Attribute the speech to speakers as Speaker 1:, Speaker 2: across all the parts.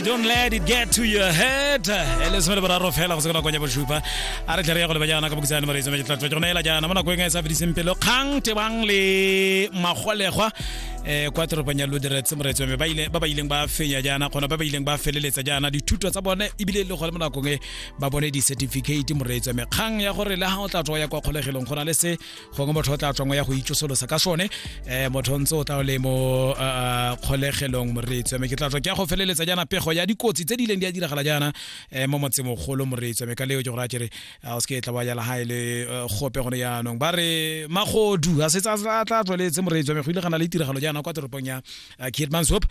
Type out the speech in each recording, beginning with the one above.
Speaker 1: Don't let it get to your head. E le some le boraro fela go se ka ya bosupa. A re tle re ya go leba jaana ka bokhutshwane moreetsi mme ke tla tswa ke go neela jaana mo nakong e e sa fediseng pelo kgang tebang le magolegwa eh kwa toropong ya Luderitz moreetsi wa me ba ile ba ba ileng ba fenya jaana kgona ba ba ileng ba feleletsa jaana dithuto tsa bone ebile le gone mo nakong e ba bone di-certificate moreetsi wa me kgang ya gore le ga o tla tswa ya kwa kgolegelong go na le se gongwe motho o tla tswang ya go itsosolosa ka sone um motho o ntse o tla o le mo eh, kgolegelong moreetsi wa me ke tla tswa ke ya go feleletsa jaana pego ya dikotsi tse di ileng di a diragala jaana um mo motsemogolo moreetsi wa me ka leo ke gore a kere o se ke tla ba jala ga e le gope gone jaanong ba re magodu a setse a tla tsweletse moreetsi wa me go ile ga na le tiragalo jaana kwa toropong ya Keetmanshoop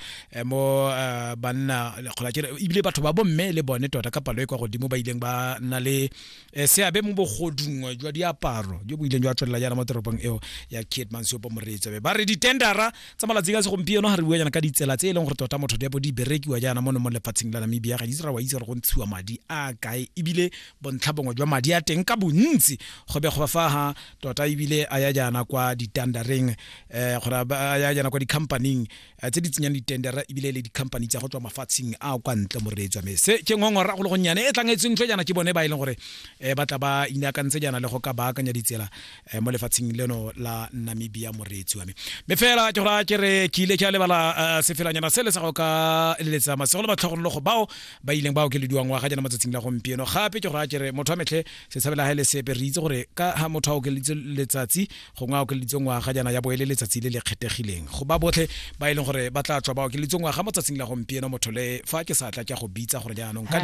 Speaker 1: mo banna kgona kere ebile batho ba bomme le bone tota ka palo e kwa godimo ba ileng ba nna le Eh, seabe mo bogodung jwa diaparo jo bo ileng jwa tswelela jaana mo toropong eo ya Keetmanshoop moreetsi ba re ditendara tsa malatsing a segompieno ga re bua jaana ka ditsela tse e leng gore tota motho di bo di berekiwa jaana mono mo lefatsheng la Namibia ga di ra wa itse gore go ntshiwa madi a kae ebile bontlha bongwe jwa madi a teng ka bontsi go be go fa ha tota ebile a ya jaana kwa ditandareng um gore a ya jaana kwa di-companyng Eh, tse di tsenyang ditendera ebile le di-company tsa go tswa mafatsheng a kwa ntle moreetswa mme se ke ngongora go le gonnyane e tlang e tsentswe jaana ke bone ba e leng gore um ba tla ba inaakantse jaana le go ka baakanya ditsela um mo lefatsheng leno la namibia moreetsi wa me mme fela ke gora ke re ke ile ke a lebala sefelanyana se le sa go ka leletsa masego le matlhogonolo go bao ba ileng ba okelediwa ngwaga jaana matsatsing la gompieno gape ke gora ke re motho wa metlhe se tshabela ga e le sepe re itse gore ka ha motho a okeleditse letsatsi gongwe a okeleditswe ngwaga jaana ya bo e le letsatsi le le kgethegileng go ba botlhe ba e leng gore ba tla tswa ba okeleditswe ngwaga mo tsatsing la gompieno motho le fa ke sa tla ke a go bitsa gore jaanong ka